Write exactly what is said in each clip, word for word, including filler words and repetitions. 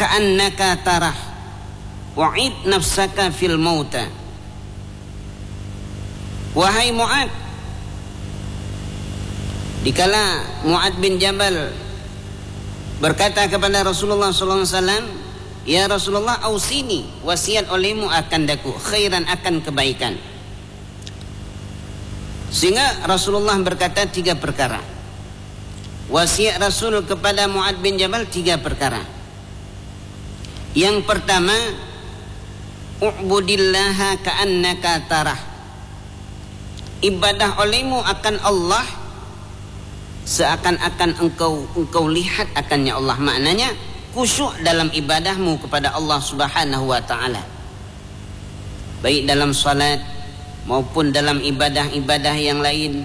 ka'annaka tarah, wa'id nafsaka fil mauta." Wahai Mu'ad, dikala Mu'ad bin Jabal berkata kepada Rasulullah sallallahu alaihi wasallam, "Ya Rasulullah, ausini, wasiat olehmu akan daku, khairan, akan kebaikan." Sehingga Rasulullah berkata tiga perkara. Wasiat Rasul kepada Mu'ad bin Jabal tiga perkara. Yang pertama, "U'budillaha ka'annaka tarah." Ibadah olehmu akan Allah seakan-akan engkau, engkau lihat akannya Allah. Maknanya, khusyuk dalam ibadahmu kepada Allah Subhanahu wa Ta'ala. Baik dalam salat maupun dalam ibadah-ibadah yang lain,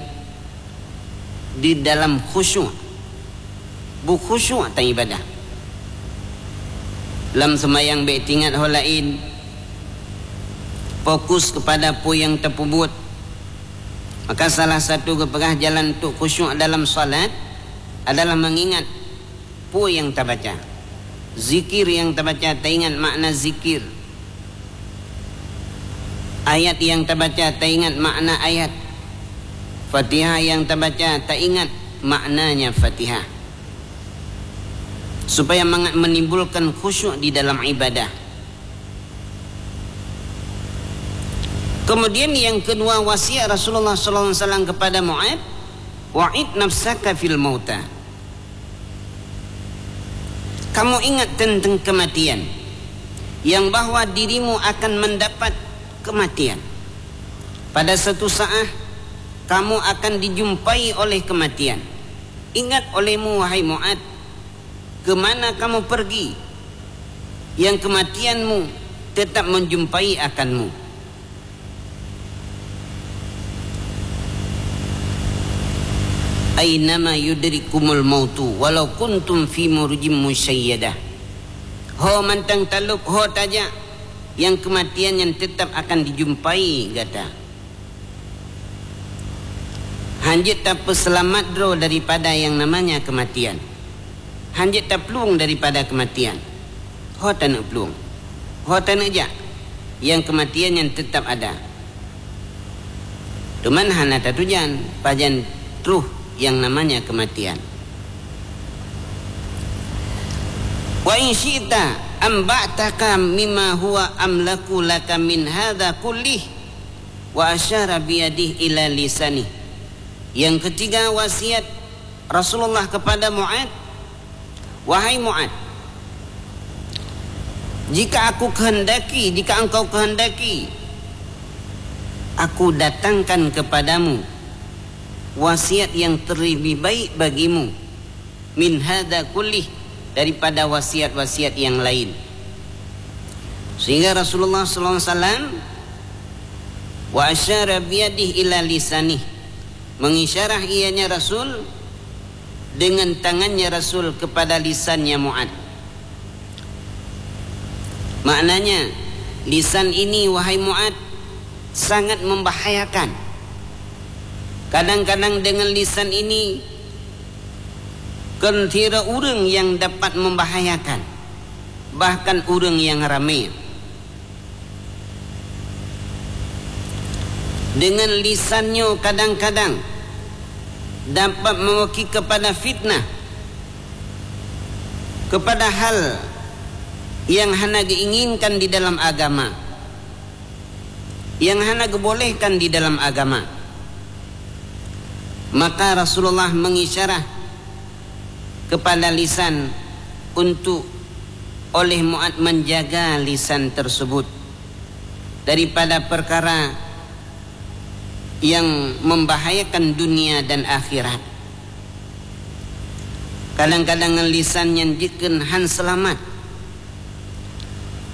di dalam khusyuk. Beukhusyuk tan ibadah. Lam seumayang bék teuingat ho laén, fokus kepada peue nyang tapeubuet. Maka salah satu geupeugah jalan untuk khusyuk dalam salat adalah mengingat peue nyang tabaca. Zikir nyang tabaca, taingat makna zikir. Ayat nyang tabaca, taingat makna ayat. Fatihah nyang tabaca, taingat maknanya Fatihah. Supaya mangat menimbulkan khusyuk di dalam ibadah. Kemudian yang kedua, wasiat Rasulullah sallallahu alaihi wasallam kepada Mu'ad, "Wa'id nafsaka fil mauta." Kamu ingat tentang kematian, yang bahwa dirimu akan mendapat kematian. Pada satu saat, kamu akan dijumpai oleh kematian. Ingat olehmu, wahai Mu'ad, ke mana kamu pergi, yang kematianmu tetap menjumpai akanmu. "Ainama yudrikumul mautu walau kuntum fi murujim musyayyadah." Ho mantong talop, ho tajak, yang kematian nyan tetap akan dijumpai gata. Hanjeuet tapeuseulamat droe daripada yang namanya kematian. Hanjeuet taplueng daripada kematian. Ho taneuk plueng, ho taneuk jak, yang kematian nyan tetap ada. Teuma hana tatujan pajan troh yang namanya kematian. "Wa in syi'ta amba'taka mimma huwa amlaku laka min hadza kullih wa asyara biyadih ila lisanih." Yang ketiga, wasiat Rasulullah kepada Mu'ad, "Wahai Mu'ad, jika aku kehendaki, jika engkau kehendaki, aku datangkan kepadamu wasiat yang terlebih baik bagimu, min hadza kullih, daripada wasiat-wasiat yang lain." Sehingga Rasulullah sallallahu alaihi wasallam, "Wa asyara biyadih ila lisanih," mengisyarah ianya Rasul dengan tangannya Rasul kepada lisannya Mu'ad. Maknanya, lisan ini, wahai Mu'ad, sangat membahayakan. Kadang-kadang dengan lisan ini, kon sidroe ureuëng nyang dapat membahayakan, bahkan ureuëng nyang ramé. Dengan lisan nyoe kadang-kadang dapat meuwaki kepada fitnah, kepada hal yang hana geuinginkan di dalam agama, yang hana geubolehkan di dalam agama. Maka Rasulullah mengisyarah kepada lisan untuk oleh Mu'ad menjaga lisan tersebut daripada perkara yang membahayakan dunia dan akhirat. Kadang-kadang ngon lisan nyan jeuet keu han seulamat,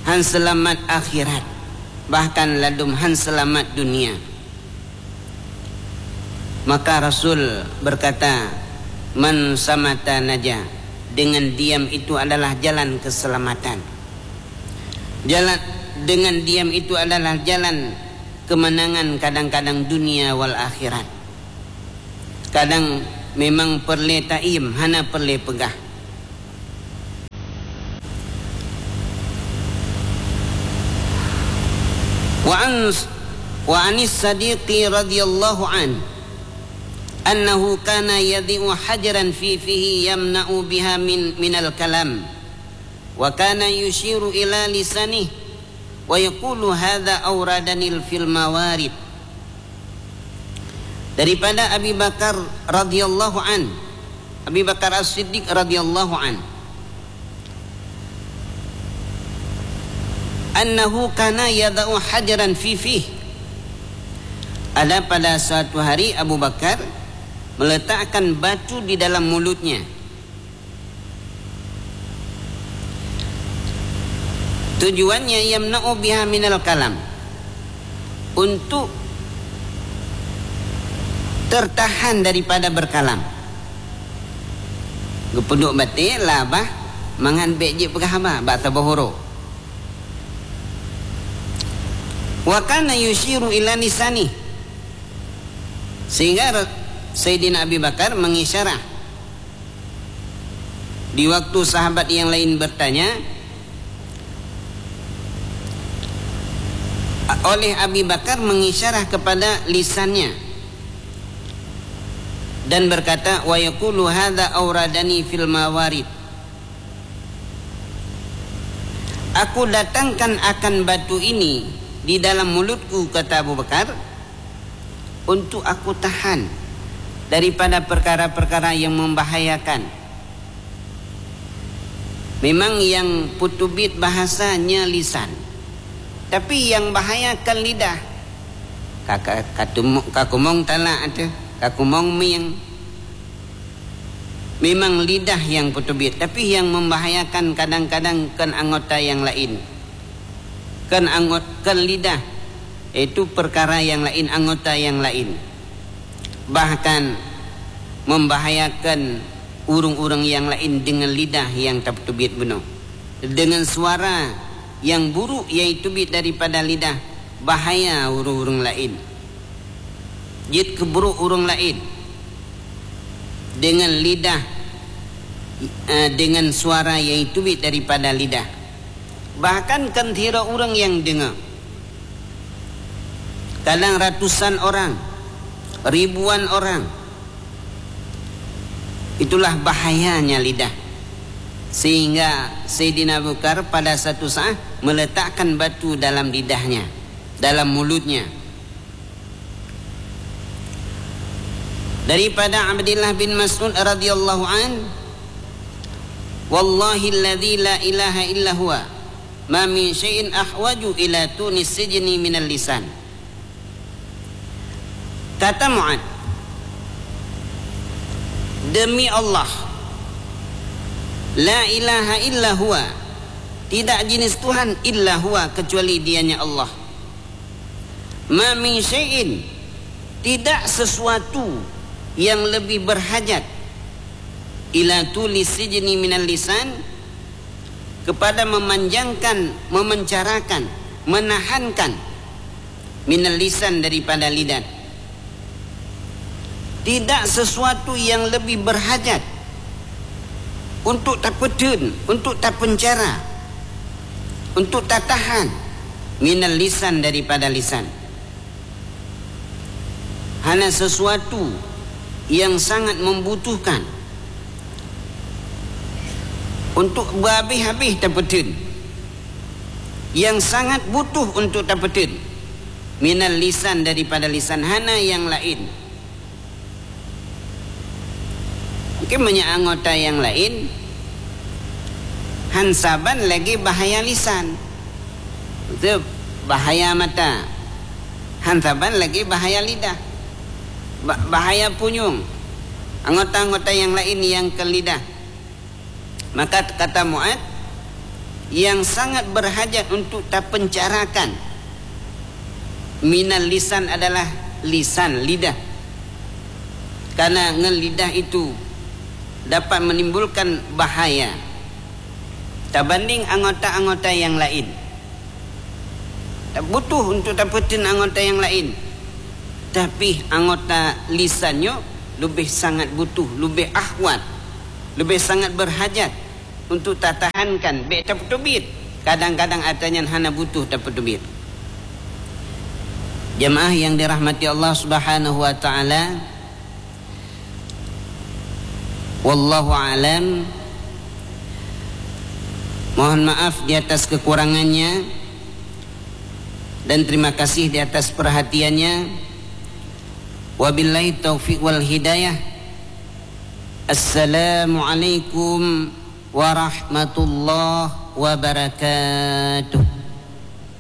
han seulamat akhirat, bahkan ladum han seulamat dunia. Maka Rasul berkata, "Man samata naja," dengan diam itu adalah jalan keselamatan. Jalan, dengan diam itu adalah jalan kemenangan kadang-kadang dunia wal akhirat. Kadang memang peureulée taiem, hana peureulée peugah. Wa an, wa anis Sadiqi radhiyallahu an, annahu kana yadhi'u hajaran fi fihi yamna'u biha min, minal kalam, wa kana yushiru ila lisanih, wa yaqulu, "Hadza awradanil fil mawarid." Daripada Abi Bakar radhiyallahu an, Abi Bakar As-Siddiq radhiyallahu an, annahu kana yadau hajaran fi fih. Ada pada suatu hari Abu Bakar meletakkan batu di dalam mulutnya. Tujuannya yamna'u biha minal kalam, untuk tertahan daripada berkalam. Geupeuduek baté labah mangat bék jeuet peugah haba bak saboh uroe. Wa kana yusyiru ila lisanih, sehingga Saidina Abi Bakar mengisyarah di waktu sahabat yang lain bertanya, oleh Abi Bakar mengisyarah kepada lisannya dan berkata, "Wa yaqulu hadza auradani fil mawarid." "Aku datangkan akan batu ini di dalam mulutku," kata Abu Bakar, "untuk aku tahan daripada perkara-perkara yang membahayakan." Memang nyang peuteubiet bahasa nyan lisan, tapi nyang bahaya kan lidah. Ka, ka, ka tumok, ka kumong talak teuh, ka kumong mieng. Memang lidah nyang peuteubiet, tapi nyang membahayakan kadang-kadang kan anggota nyang laén. Kan angot-, kan lidah, yaitu perkara nyang laén, anggota nyang laén. Bahkan membahayakan ureuëng-ureuëng nyang laén deungon lidah nyang tapeuteubiet bunoe. Deungon suara nyang buruk nyang teubiet daripada lidah, bahaya ureuëng-ureuëng laén. Jeuet keu buruk ureuëng laén deungon lidah, eh, deungon suara nyang teubiet daripada lidah. Bahkan kan sidroe ureuëng nyang deungoe. Kadang ratusan orang, ribuan orang. Itulah bahayanya lidah. Sehingga Saidina Abu Bakar pada satu saat meletakkan batu dalam lidahnya, dalam mulutnya. Daripada Abdullah bin Mas'ud radhiyallahu an, "Wallahilladzi la ilaha illa huwa, ma min syai'in ahwaju ila tunis sijni minal lisan." Kata Mu'ad, "Demi Allah, la ilaha illa huwa, tidak jenis Tuhan illa huwa, kecuali Dianya Allah. Ma min syai'in, tidak sesuatu yang lebih berhajat, ila tuli sijni minal lisan, kepada memanjangkan, memencarakan, menahankan, minal lisan, daripada lidah. Tidak sesuatu yang lebih berhajat untuk tapeuteubiet, untuk tapencara, untuk tatahan, minal lisan, daripada lisan." Hana sesuatu yang sangat membutuhkan untuk berhabéh-habéh tapeuteubiet, yang sangat butuh untuk tapeuteubiet, minal lisan, daripada lisan, hana nyang laén. Mungkin banyak anggota nyang laén, han saban lagée bahaya lisan. Itu bahaya mata. Han saban lagée bahaya lidah. Ba-, bahaya punyueng. Anggota-anggota nyang laén nyang keu lidah. Maka kata Mu'ad, yang sangat berhajat untuk tapencarakan minal lisan adalah lisan, lidah. Karena ngon lidah itu dapat menimbulkan bahaya tabanding anggota-anggota nyang laén. Butuh untuk tapeuteubiet anggota nyang laén. Tapi anggota lisan nyoe leubeh sangat butuh, leubeh ahwat, leubeh sangat berhajat untuk tatahankan, bék tapeuteubiet. Kadang-kadang atra nyan hana butuh tapeuteubiet. Jamaah yang dirahmati Allah Subhanahu wa taala, wallahu alam. Mohon maaf di atas kekurangannya dan terima kasih di atas perhatiannya. Wabillahi taufiq wal hidayah. Assalamualaikum warahmatullahi wabarakatuh.